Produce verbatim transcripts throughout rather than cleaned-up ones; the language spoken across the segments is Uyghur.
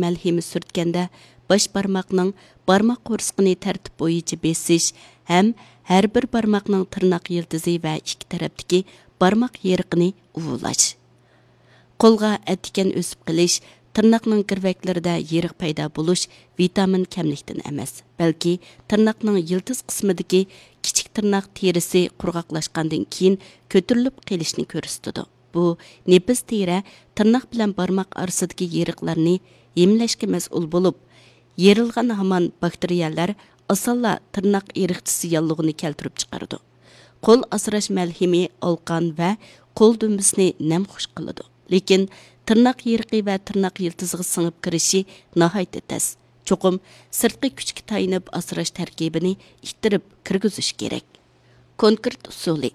مەلھىمى سۈرتكەندە، باش بارماقنىڭ بارماق قورسىقىنى تەرتىپ بويىچە بېسىش ھەم ھەر بىر بارماقنىڭ تىرناق يىلتىزى ۋە ئىككى تەرەپتىكى بارماق يېرىقىنى ئۇۋۇلاش. قولغا ئەتىكەن ئۆسۈپ قېلىش تىرناقنىڭ گىرۋەكلىرىدە يېرىق پەيدا بولۇش ۋىتامىن كەملىكتىن ئەمەس، بەلكى تىرناقنىڭ يىلتىز قىسمىدىكى كىچىك تىرناق تېرىسى قۇرغاقلاشقاندىن كېيىن كۆتۈرۈلۈپ قېلىشنى كۆرسىتىدۇ. بۇ نېپىز تېرە تىرناق بىلەن بارماق ئارىسىدىكى يېرىقلارنى ھىملەشكە مەسئۇل بولۇپ، يېرىلغان ھامان باكتېرىيەلەر ئاسانلا تىرناق ئېرىقچىسى ياللۇغىنى كەلتۈرۈپ چىقىرىدۇ. قول ئاسراش مەلھىمى ئالقان ۋە قول دۈمبىسىنى نەم خۇش قىلىدۇ. لېكىن تىرناق يېرىقى ۋە تىرناق يىلتىزىغا سىڭىپ كىرىشى ناھايىتى تەس. چوقۇم سىرتقى كۈچكە تايىنىپ ئاسراش تەركىبىنى ئىتتىرىپ كىرگۈزۈش كېرەك. كونكرېت ئۇسۇلى.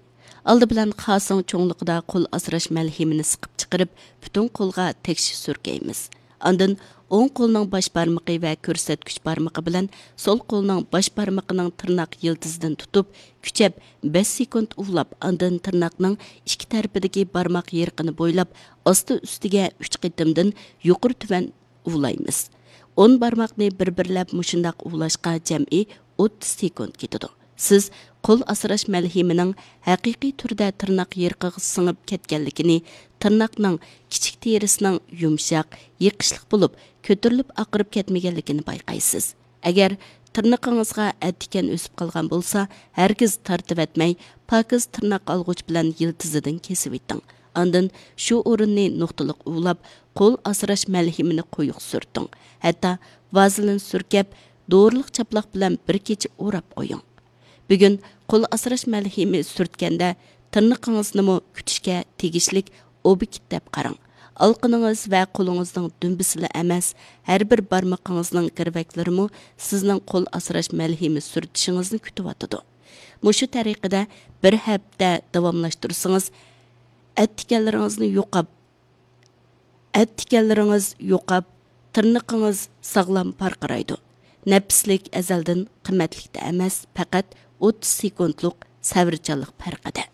ئالدى بىلەن خاسىڭ چوڭلۇقىدا قول ئاسراش مەلھىمىنى سىقىپ چىقىرىپ، پۈتۈن قولغا تەكشى سۈركەيمىز. ئاندىن ئوڭ قولنىڭ باش بارمىقى ۋە كۆرسەتكۈچ بارمىقى بىلەن سول قولنىڭ باش بارمىقىنىڭ تىرناق يىلتىزىدىن تۇتۇپ، كۈچەپ بەش سېكۇنت ئۇۋىلاپ، ئاندىن تىرناقنىڭ ئىككى تەرىپىدىكى بارماق يېرىقىنى بويلاپ، ئاستى ئۈستىگە ئۈچ قېتىمدىن يۇقىرى تۆۋەن ئۇۋىلايمىز. ئون بارماقنى بىر-بىرلەپ مۇشۇنداق ئۇۋىلاشقا جەمئىي ئوتتۇز سېكۇنت كېتىدۇ. سىز قول ئاسراش مەلھىمىنىڭ ھەقىقىي تۈردە تىرناق يېرىقىغا سىڭىپ كەتكەنلىكىنى، تىرناقنىڭ كىچىك تېرىسىنىڭ يۇمشاق، يېقىشلىق بولۇپ، كۆتۈرۈلۈپ ئاقىرىپ كەتمىگەنلىكىنى بايقايسىز. ئەگەر تىرنىقىڭىزغا ئەتىكەن ئۆسۈپ قالغان بولسا، ھەرگىز تارتىۋەتمەي، پاكىز تىرناق ئالغۇچ بىلەن يىلتىزىدىن كېسىۋېتىڭ. ئاندىن شۇ ئورۇننى نۇقتىلىق ئۇۋىلاپ، قول ئاسراش مەلھىمىنى قويۇق سۈرتۈڭ. ھەتتا ۋازېلىن سۈركەپ، دورىلىق چاپلاق بىلەن بىر كېچە ئوراپ قويۇڭ. بۈگۈن قول ئاسراش مەلھىمى سۈرتكەندە، تىرنىقىڭىزنىمۇ كۈتۈشكە تېگىشلىك ئوبيېكت دەپ قاراڭ. ئالىقىنىڭىز ۋە قولىڭىزنىڭ دۈمبىسىلا ئەمەس، ھەر بىر بارمىقىڭىزنىڭ گىرۋەكلىرىمۇ سىزنىڭ قول ئاسراش مەلھىمى سۈرتۈشىڭىزنى كۈتۈۋاتىدۇ. مۇشۇ تەرىقىدە بىر ھەپتە داۋاملاشتۇرسىڭىز، ئەتىكەنلىرىڭىزنى يوقاپ، ئەتىكەنلىرىڭىز يوقاپ، تىرنىقىڭىز ساغلام پارقىرايدۇ. نەپىسلىك ئەزەلدىن قىممەتلىكتە ئەمەس، پەقەت ئوتتۇز سېكۇنتلۇق سەۋرچانلىق پەرقىدە.